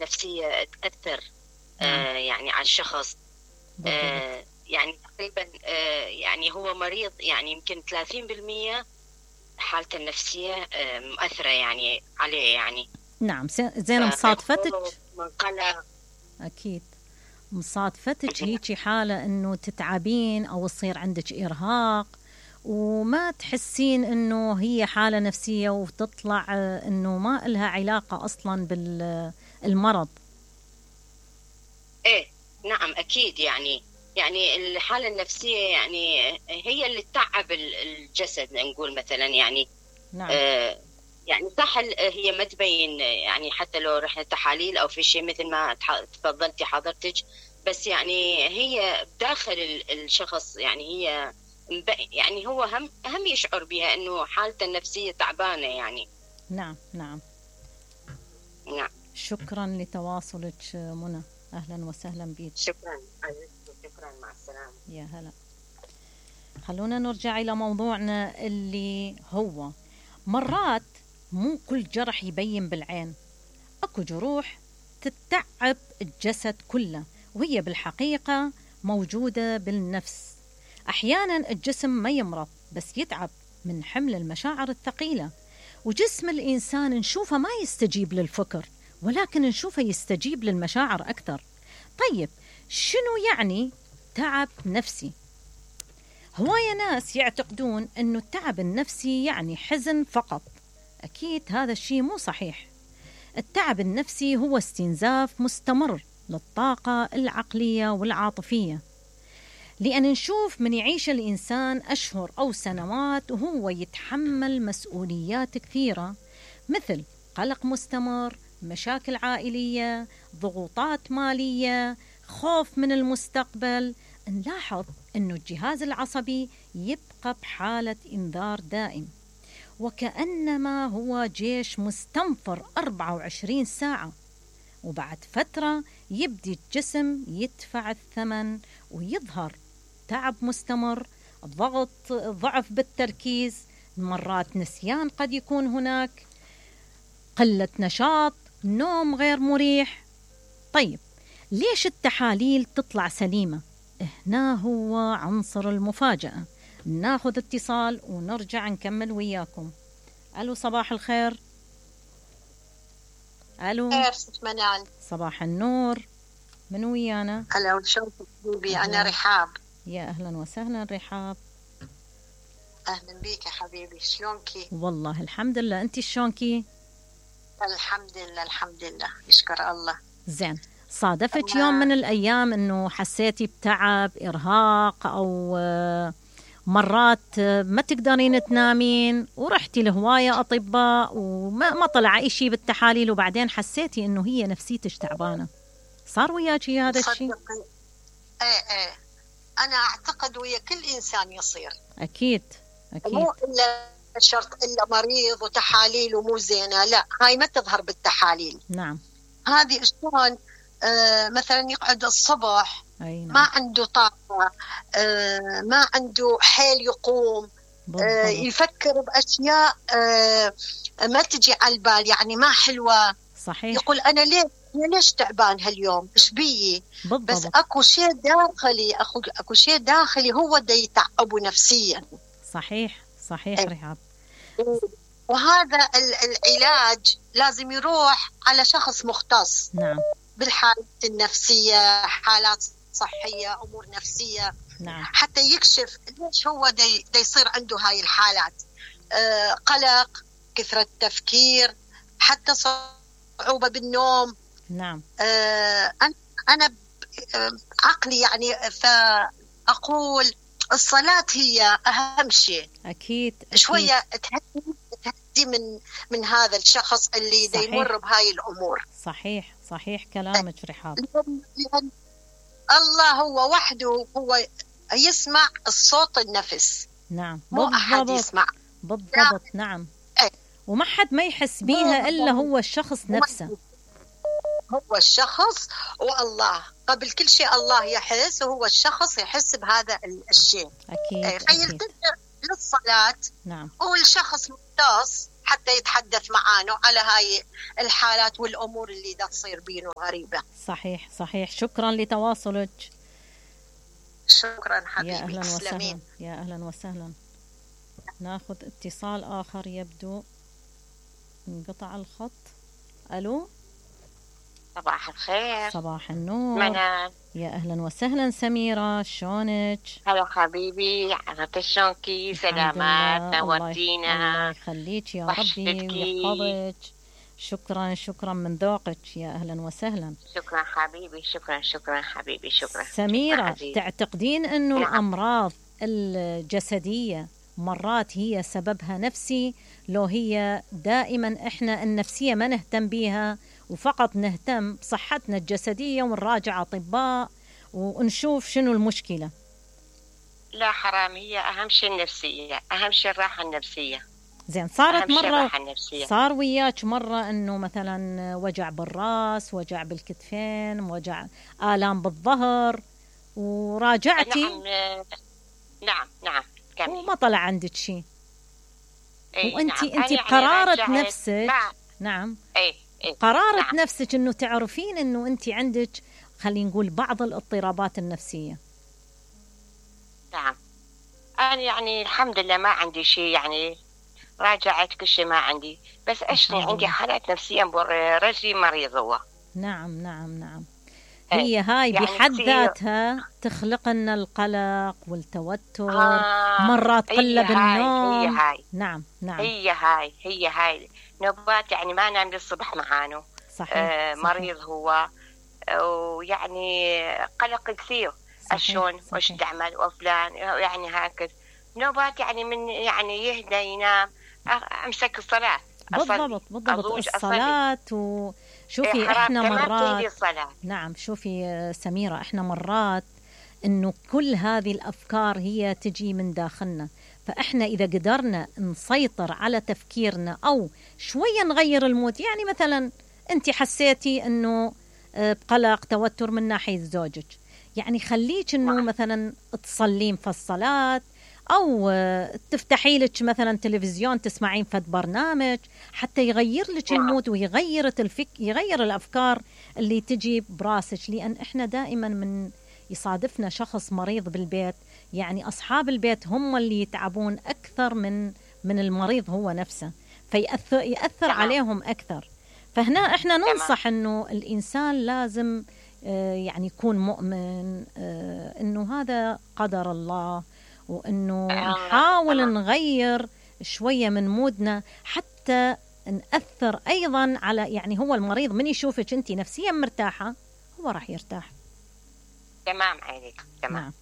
النفسية تأثر يعني على الشخص. يعني تقريبا يعني هو مريض، يعني يمكن 30% حالته النفسية مؤثرة يعني عليه يعني. نعم. زين مصادفتك من قلق. أكيد مصادفتك هيجي حالة إنه تتعبين أو يصير عندك إرهاق وما تحسين إنه هي حالة نفسية، وتطلع إنه ما إلها علاقة أصلا بالمرض. إيه نعم أكيد. يعني الحالة النفسية يعني هي اللي تتعب الجسد، نقول مثلا يعني. نعم. يعني صح هي ما تبين، يعني حتى لو رحنا تحاليل أو في شيء مثل ما تفضلتي حضرتك، بس يعني هي داخل الشخص، يعني هي يعني هو هم يشعر بها إنه حالته النفسية تعبانة يعني. نعم نعم نعم. شكرا لتواصلك منى، أهلا وسهلا بك. شكرا شكرا، مع السلامة. يا هلا. خلونا نرجع إلى موضوعنا اللي هو مرات مو كل جرح يبين بالعين، أكو جروح تتعب الجسد كله وهي بالحقيقة موجودة بالنفس. أحيانا الجسم ما يمرض بس يتعب من حمل المشاعر الثقيلة، وجسم الإنسان نشوفه ما يستجيب للفكر ولكن نشوفه يستجيب للمشاعر أكثر. طيب شنو يعني تعب نفسي؟ هواية ناس يعتقدون أنه التعب النفسي يعني حزن فقط. أكيد هذا الشيء مو صحيح. التعب النفسي هو استنزاف مستمر للطاقة العقلية والعاطفية، لأن نشوف من يعيش الإنسان أشهر أو سنوات وهو يتحمل مسؤوليات كثيرة، مثل قلق مستمر، مشاكل عائلية، ضغوطات مالية، خوف من المستقبل. نلاحظ أنه الجهاز العصبي يبقى بحالة إنذار دائم، وكأنما هو جيش مستنفر 24 ساعة، وبعد فترة يبدي الجسم يدفع الثمن ويظهر تعب مستمر، ضعف بالتركيز، مرات نسيان قد يكون هناك، قلة نشاط، نوم غير مريح. طيب ليش التحاليل تطلع سليمة؟ هنا هو عنصر المفاجأة. ناخذ اتصال ونرجع نكمل وياكم. ألو صباح الخير. ألو. خير ست منال. صباح النور. من ويانا؟ هلا وشلونك حبيبي؟ أنا رحاب. يا أهلا وسهلا رحاب. أهلا بيك يا حبيبي، شلونكي؟ والله الحمد لله، أنت شلونكي؟ الحمد لله الحمد لله، يشكر الله. زين، صادفت يوم من الأيام أنه حسيتي بتعب، إرهاق، أو مرات ما تقدرين تنامين ورحتي لهواية أطباء وما طلع أي شيء بالتحاليل وبعدين حسيتي أنه هي نفسيتش تعبانة؟ صار وياكي هذا الشيء؟ ايه أنا أعتقد ويا كل إنسان يصير. أكيد مو إلا شرط إلا مريض وتحاليل ومو زينة، لا هاي ما تظهر بالتحاليل. نعم. هذه شلون مثلا يقعد الصبح نعم. ما عنده طاقة، ما عنده حيل يقوم، يفكر بأشياء ما تجي على البال، يعني ما حلوة. صحيح. يقول أنا ليش تعبان هاليوم، إيش بيي؟ بس أكو شيء داخلي، أكو شيء داخلي هو دا يتعبه نفسيا. صحيح رحاب. وهذا العلاج لازم يروح على شخص مختص. نعم. بالحالات النفسية، حالات صحية، أمور نفسية. نعم. حتى يكشف ليش هو دا يصير عنده هاي الحالات، قلق، كثرة تفكير، حتى صعوبة بالنوم. نعم. أنا عقلي يعني فأقول الصلاة هي أهم شيء. أكيد. شوية تهدي من هذا الشخص اللي دا يمر بهاي الأمور. صحيح كلامك رحاب. لأن الله هو وحده هو يسمع الصوت النفس. نعم. مو أحد يسمع. بالضبط. نعم. وما حد ما يحس بيها إلا هو الشخص نفسه. هو الشخص والله، قبل كل شيء الله يحس، وهو الشخص يحس بهذا الشيء. أكيد. فيلتجأ للصلاة. نعم. والشخص مختص حتى يتحدث معانا على هاي الحالات والأمور اللي دا تصير بينه غريبة. صحيح صحيح. شكرا لتواصلك. شكرا حبيبي. يا أهلا وسهلا. تسلمين. يا أهلا وسهلا. ناخذ اتصال آخر، يبدو انقطع الخط. ألو. صباح الخير. صباح النور. منال. يا أهلا وسهلا سميرة، شلونك؟ هلا حبيبي، عرفت شلونكي؟ سلامات، نورتينا. الله يخليك يا ربي ويحفظك. شكرا شكرا من ذوقك. يا أهلا وسهلا. شكرا حبيبي. شكرا حبيبي. شكرا سميرة. شكرا تعتقدين أنه نعم. الأمراض الجسدية مرات هي سببها نفسي، لو هي دائما إحنا النفسية ما نهتم بيها وفقط نهتم بصحتنا الجسدية ونراجع أطباء ونشوف شنو المشكلة؟ لا حرام، هي أهم شيء النفسية، أهم شيء الراحة النفسية. زين. صارت مرة، صار وياك مرة أنه مثلا وجع بالرأس، وجع بالكتفين، وجع آلام بالظهر وراجعتي؟ نعم وما طلع عندك شيء؟ وانت نعم. انت بقرارة نفسك. نعم. قرارة نعم. نفسك انه تعرفين انه انت عندك، خلينا نقول، بعض الاضطرابات النفسية. نعم. أنا يعني الحمد لله ما عندي شيء، يعني راجعت كل شيء ما عندي، بس أشني عندي حالات نفسية، رجلي مريض هو. نعم. هي هاي يعني بحد ذاتها تخلق لنا القلق والتوتر، مرات قلة بالنوم. نعم. هي هاي نوبات، يعني ما نام للصبح معانه. صحيح. مريض هو، ويعني قلق كثير. شلون وش تعمل وفلان، يعني هكذا نوبات، يعني من يعني يهدى ينام امسك الصلاة. بالضبط الصلاة. وشوفي احنا مرات، نعم شوفي سميرة، احنا مرات انه كل هذه الافكار هي تجي من داخلنا، فاحنا اذا قدرنا نسيطر على تفكيرنا او شوية نغير المود، يعني مثلا انت حسيتي انه بقلق توتر من ناحية زوجك، يعني خليك انه مثلا تصلين في الصلاة، أو تفتحي لك مثلا تلفزيون تسمعين فد برنامج حتى يغير لك المود ويغير يغير الأفكار اللي تجي براسك. لأن إحنا دائما من يصادفنا شخص مريض بالبيت، يعني أصحاب البيت هم اللي يتعبون أكثر من المريض هو نفسه، يأثر عليهم أكثر. فهنا إحنا ننصح إنه الإنسان لازم يعني يكون مؤمن إنه هذا قدر الله، وإنه نحاول نغير شوية من مودنا حتى نأثر أيضا على، يعني هو المريض من يشوفك أنت نفسيا مرتاحة هو راح يرتاح. تمام عليك. تمام.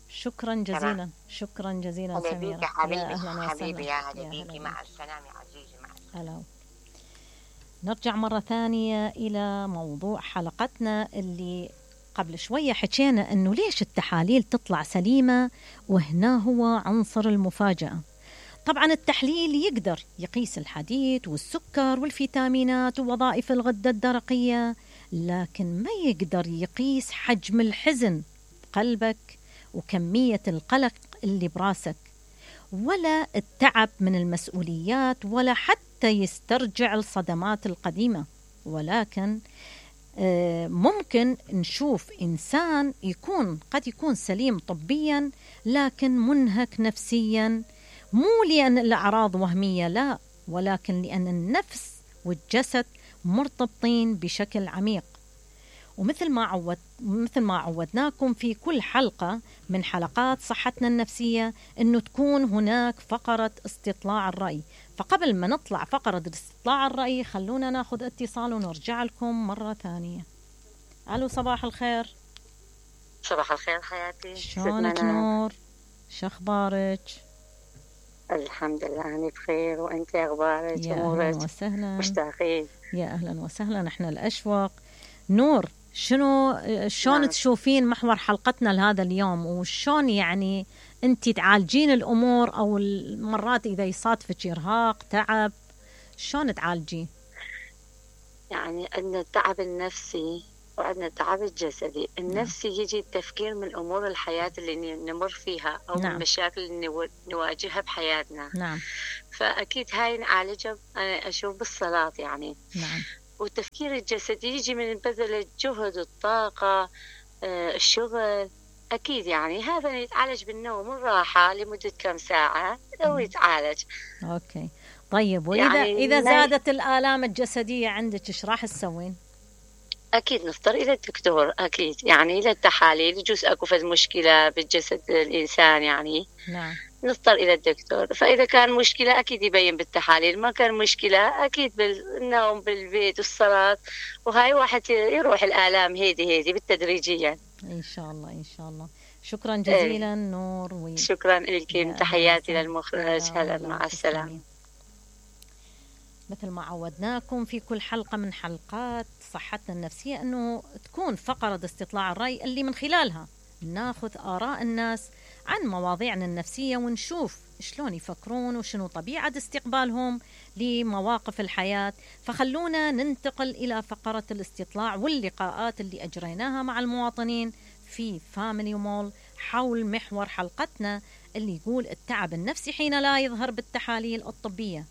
شكرا جزيلا. شكرا جزيلا سميرة. حبيبي يا هلا بيكي. مع السلامة عزيزي. مع السلامة. نرجع مرة ثانية إلى موضوع حلقتنا اللي قبل شوية حكينا أنه ليش التحاليل تطلع سليمة، وهنا هو عنصر المفاجأة. طبعا التحليل يقدر يقيس الحديد والسكر والفيتامينات ووظائف الغدة الدرقية، لكن ما يقدر يقيس حجم الحزن بقلبك وكمية القلق اللي براسك، ولا التعب من المسؤوليات، ولا حتى يسترجع الصدمات القديمة. ولكن ممكن نشوف إنسان قد يكون سليم طبيا لكن منهك نفسيا، مو لأن الأعراض وهمية، لا، ولكن لأن النفس والجسد مرتبطين بشكل عميق. ومثل ما عودناكم في كل حلقة من حلقات صحتنا النفسية أنه تكون هناك فقرة استطلاع الرأي. فقبل ما نطلع فقرة استطلاع الرأي خلونا ناخذ اتصال ونرجع لكم مرة ثانية. ألو، صباح الخير. صباح الخير حياتي. شلونك نور؟ شخبارك؟ الحمد لله أنا بخير، وأنت أخبارك؟ يا أهلا وسهلا. مشتاقين. يا أهلا وسهلا، نحن الأشواق. نور، شلون تشوفين محور حلقتنا لهذا اليوم، وشون يعني أنت تعالجين الأمور، أو المرات إذا يصادفك إرهاق تعب شلون تعالجين؟ يعني أن التعب النفسي وعندنا التعب الجسدي. النفسي يجي التفكير من أمور الحياة اللي نمر فيها أو نعم. المشاكل اللي نواجهها بحياتنا. نعم. فأكيد هاي نعالجها أنا أشوف بالصلاة يعني. نعم. والتفكير الجسدي يجي من بذل الجهد، الطاقة، الشغل. أكيد يعني هذا يتعالج بالنوم والراحة لمدة كم ساعة ويتعالج. أوكي طيب، وإذا يعني إذا زادت الآلام الجسدية عندك إيش راح تسوين؟ أكيد نضطر إلى الدكتور، أكيد يعني إلى التحاليل. يجوز أكو فد مشكلة بالجسد الإنسان يعني. نعم. نضطر إلى الدكتور. فإذا كان مشكلة أكيد يبين بالتحاليل، ما كان مشكلة أكيد بالنوم بالبيت والصلاة، وهاي واحد يروح الآلام هيدي بالتدريجيا إن شاء الله إن شاء الله. شكرا جزيلا نور. شكرا لكم، تحياتي للمخرج. هلا مع السلامة. مثل ما عودناكم في كل حلقة من حلقات صحتنا النفسية أنه تكون فقرة استطلاع الرأي اللي من خلالها ناخذ آراء الناس عن مواضيعنا النفسية ونشوف شلون يفكرون وشنو طبيعة استقبالهم لمواقف الحياة. فخلونا ننتقل إلى فقرة الاستطلاع واللقاءات اللي أجريناها مع المواطنين في فاميلي مول حول محور حلقتنا اللي يقول التعب النفسي حين لا يظهر بالتحاليل الطبية.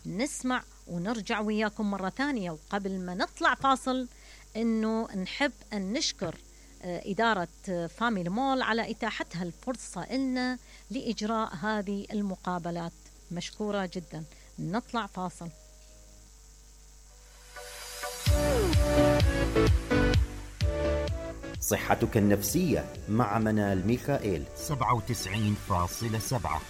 نسمع ونرجع وياكم مرة ثانية. وقبل ما نطلع فاصل إنه نحب أن نشكر إدارة فاميلي مول على إتاحتها الفرصة لنا لإجراء هذه المقابلات. مشكورة جدا. نطلع فاصل. صحتك النفسية مع منال ميخائيل 97.7